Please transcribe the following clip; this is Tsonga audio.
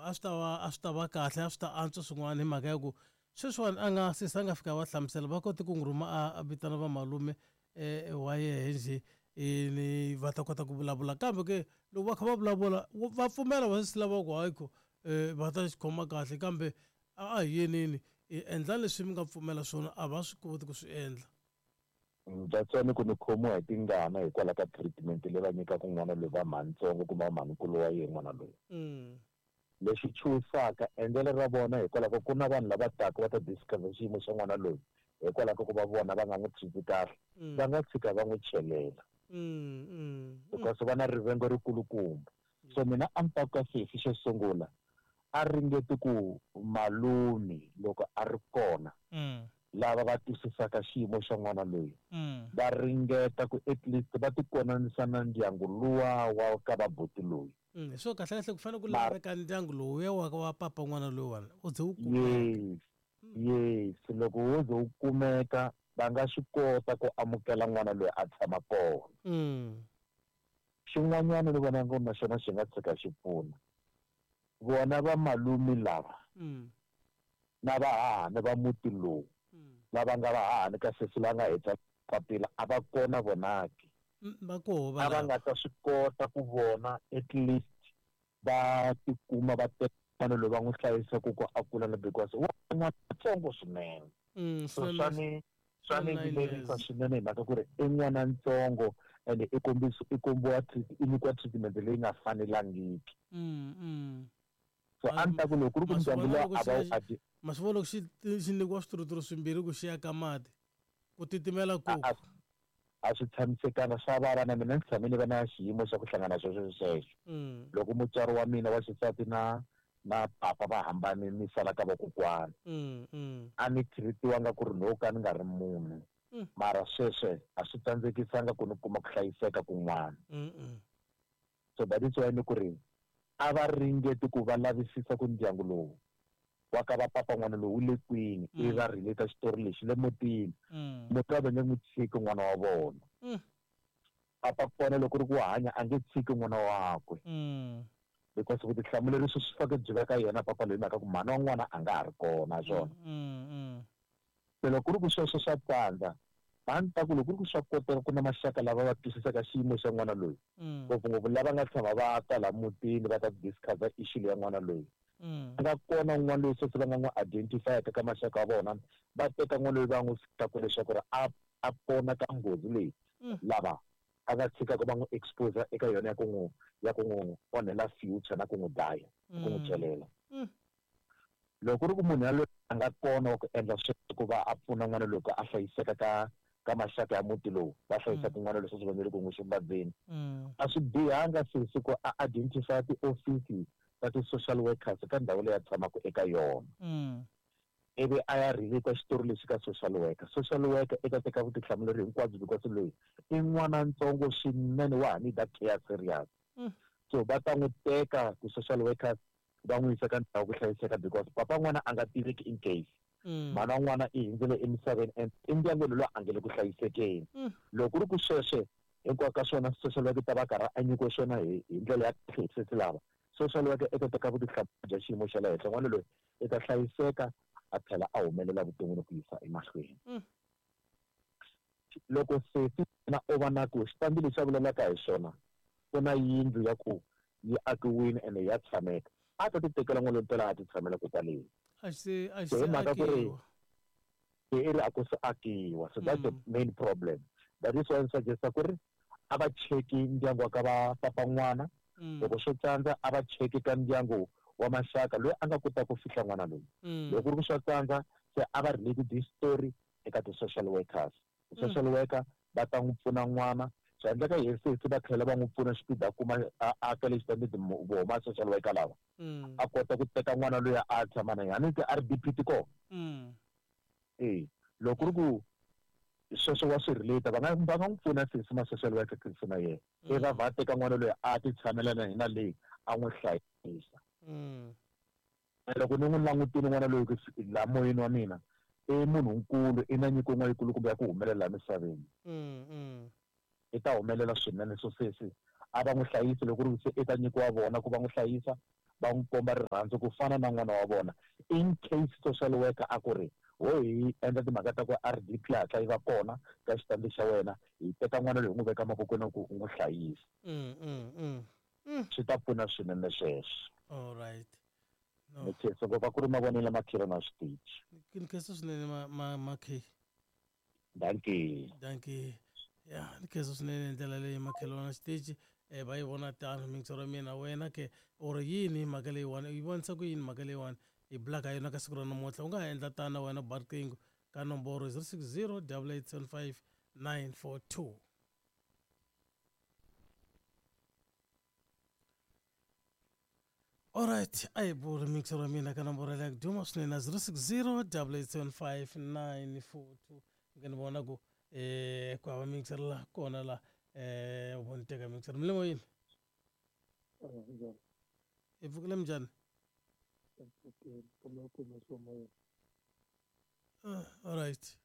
a swi ta va a swi ta va kahle, a swi ta antswa swin'wana hi mhaka ya ku sweswiwani a nga sesi a nga fika va hlamusela va kote ku n'wi rhuma a vitana vamalume wa yehe njhe ni va ta kota ku vulavula. Kambe ke loko va kha va vulavula va pfumela vasesi lava ku hayi ku va ta xi khoma kahle kambe a hi yeneni hi endla leswi mi nga pfumela swona a va swi koti ku swi endla. That's why ni ku ni khomiwa hi tingana hikwalaho ka treatment leyi va nyikaka n'wana loyi va mhanitsongo kumbe va mhanikulu wa yena n'wana loyi. Lexi chuhisaka endlelo ra vona hikwalaho ka ku na vanhu lava taka va ta discover xiyimo xa n'wana loyi hikwalaho ka ku va vona va nga n'wi treat kahle va nga tshika va n'wi chelela because va na rivengo rikulukumba. So mina a ni ta ku ka sesi xo sungula a ringeti ku malume loko a ri kona lava va twisisaka xiyimo xa n'wana loyi va ringeta ku at least va tikonanisa na ndyangu luwa wa ka va buti loyi. So kahle kahle ku fanele ku laveka ndyangu lowuya wa wa papa n'wana loyiwani u ze wu kumeka. Yes, yes, loko wo ze wu kumeka va nga swi kota ku amukela n'wana loyi a tshama kona. Xin'wanyana ni vona ngo na xona xi nga tshika xi pfuna vona va malume lava na vahahani va muti lowu lava nga vahahani ka sesi la nga heta papila a va kona vonaki. Va koho A va nga ta swi kota ku vona at least va tikuma va teka n'wana loyi va n'wi hlayisa ku ko a kula na because wa n'wana ntsongo swinene. So swa ni vilerisa swinene hi mhaka ku ri i n'wana ntsongo and i kombisa i kombiwa i nyikiwa treatment leyi nga fanelangiki. So a ni ta ku loko ku ri ku ndyangu luwa a va wu adi Ma swi vona loko xi xi nyikiwa swituruturu swimbirhi ku xi ya ka mati ku titimela ku a swi tshamisekanga swa vava na mina ni tshame ni va na xiyimo xa ku hlangana sweswo sweswo. Loko mutswari wa mina wa xisati na na papa va hambane ni sala ka vakokwana a ni treat-iwanga ku ri no ka ni nga ri munhu mara sweswe a swi tsandzekisanga ku ni kuma ku hlayiseka kun'wana. So that is why ni ku ri a va ringeti ku va lavisisa ku ndyangu lowu wa ka va papa n'wana lowu wu le kwini ivi va relate xitori lexi le mutini. Muti va nge n'wi tshiki n'wana wa vona. Papa kona loko ri ku wa hanya a nge tshiki n'wana wakwe because vutihlamuleri swi swi faneke byi va ka yena papa loyi mhaka ku mhani wa n'wana a nga ha ri kona swona. Se loko ku ri ku sweswo swa tsandza a ni ta ku loko ku ri ku swa koteka ku na maxaka lava va twisisaka xiyimo xa n'wana loyi ngopfungopfu lava nga tshama va ta laha mutini va ta discuss issue leya n'wana loyi a nga kona un'wana loyi sweswi va nga n'wi identify-aka ka maxaka ya vona va teka n'wana loyi va n'wi fikaku leswaku ri a a pona ka nghozi leyi lava a nga tshikaka va n'wi expose eka yona ya ku n'wi ya ku n'wi onhela future na ku n'wi dlaya ku n'wi celela. Loko ku ri ku munhu yaloye a nga kona wa ku endla sweswo ku va a pfuna n'wana loyi ku a hlayiseka ka ka maxaka ya muti lowu va hlayisaka n'wana loyi sweswi va nge le ku n'wi xumbadzeni a swi bihanga sesi ku a identify tiofisi ta ti-social workers ka ndhawu leyi a tshamaka eka yona ivi a ya relate xitori lexi ka social worker. Social worker i ta teka vutihlamuleri hinkwabyo because loyi i n'wana ntsongo swinene wa ha need care serious. So va ta n'wi teka ti-social workers va n'wi yisa ka ndhawu ku hlayiseka because papa n'wana a nga tiveki in case mhana wa n'wana i hundzile emisaveni and endyangwini loyi a nge le ku hlayisekeni. Loko ku ri ku sweswe hinkwako ka swona social worker ta va karhi a nyikiwe swona hi hi ndlela ya kahle hi sesi lava social worker i ta teka vutihlamuleri bya xiyimo xa le henhla n'wana loyi i ta hlayiseka a tlhela a humelela vuton'wini ku yisa emahlweni. Loko sesi na o va na ku xitandi lexi a vulelaka hi xona ku na yindlu ya ku yi akiwile ene ya tshameka a ta ti tekela n'wana loyi mpela a ti tshamela ko kwaleni. A xi a xi se mhaka ku ri i ri a ku se akiwa so that's the main problem. That is why ni suggest-a ku ri a va cheki ndyangu wa ka va papa n'wana loko swo tsandza a va cheki ka ndyangu wa maxaka loyi a nga kotaka ku fihla n'wana loyi. Loko ku ri ku swa tsandza se a va relate this story eka ti-social workers. Social worker va ta n'wi pfuna n'wana swi endleka hi sesi va tlhela va n'wi pfuna xipidi a kuma a aka lexi tanihi voma social worker lava a kota ku teka n'wana loyi a tshama na yena a ni ti R_D_P ti kona e loko ku ri ku sweswo wa swi relate va nga va nga n'wi pfuna sesi ma social worker sesi na yena i va va teka n'wana loyi a ti tshamela na yena leyi a n'wi hlayisa. Loko ni n'wi langutile n'wana loyi ku laha moyeni wa mina i munhu nkulu i na nyiko yin'wana yikulukumba ya ku humelela laha misaveni. I ta humelela swinene so sesi a va n'wi hlayisi loko ku ri se i ta nyikiwa vona ku va n'wi hlayisa Va n'wi komba rirhandzu ku fana na n'wana wa vona. In case social worker a ku ri ho hi endla timhaka ta ku RDP hatla yi va kona ka xitandi xa wena, hi teka n'wana loyi hi n'wi veka mavokweni ku u n'wi hlayisa. Swi ta pfuna swinene sweswo. All right. No. Ni khensa ngopfu, a ku ri mavonelo makhelwani wa xitichi. Ni khensa swinene ma Dankie. Dankie. Ya, ni khensa swinene hi ndlela leyi makhelwani wa xitichi va yi vona tano mixo ra mina wena ke or yini mhaka leyiwani u yi vonisa ku yini mhaka leyiwani hi bulaka yona ka siku ra namuntlha u nga ha endla tano wena ba riqingho ka nomboro 060 8875 942. Alright, a hi buri mixo ra mina ka nomboro leya ku duma swinene 060 8875 942. Nge ni vona ku ku hava mixer la kona la u ni teka mixer milimo yini hi pfukile minjhani? Alright.